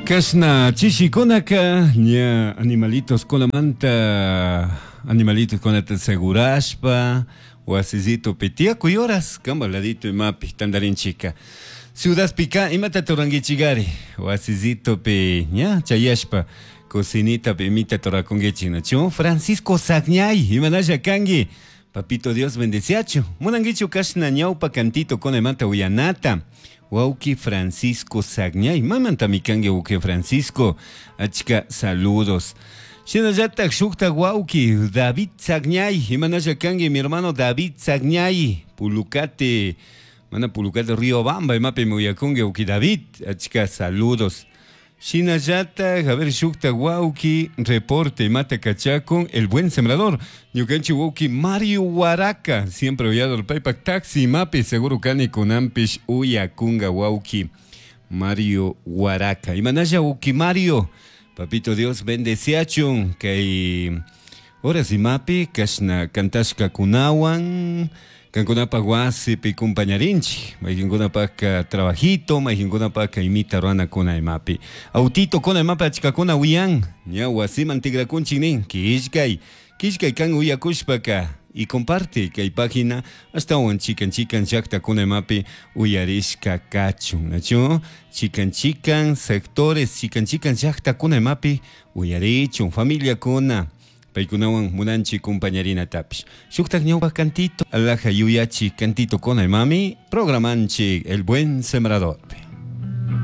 Kashna chishikunaka ña animalitos kunamanta animalitos kunata segurashpa wasillitupi tiyakuy horas kamba ladito imapi tantarinchika. Ciudadpika imata turankichikari wasillitupi ña chayashpa cocinitapi imita turakunkichik nachu Francisco Sagñay imanalla kanki Papito Dios bendeciachu munankichu kashna ñawpa cantito kunamanta uyanata Wauki Francisco Sagñay mamantami kanki wauki Francisco achka saludos Shinallatak shukta wauki David Sagñay imanalla kanki mi hermano David Sagñay Pulucate mana Pulucate Río Bamba imapi muyakunki wauki David achka saludos Shinallatak a ver shukta wauki reporte imata kachakun el buen sembrador ñukanchik wauki Mario Huaraca siempre uyador paypak taxi imapi seguro kani kunanpish uyakunga wauki Mario Huaraca imanalla wauki Mario papito Dios bendeciachun kay horas imapi kashna kantashka kunawan kankunapak wasipi kumpañarinchik mayqinkunapaka trabajito mayqinkunapaka imita ruranakuna imapi autito kuna imapi achkakuna wiyan ña wasiman tikrakunchik nin killkay killkay kan uyakushpaka y comparte kay página ashtawan chikan chikan llaktakuna imapi uyarishka kachun nachu chikan chikan sectores chikan chikan llaktakuna imapi uyarichun familiakuna paykunawan munanchik kumpañarinatapish shuktak ñawpa cantito alhaja yuyachi cantito kuna imami programanchik el buen sembrador.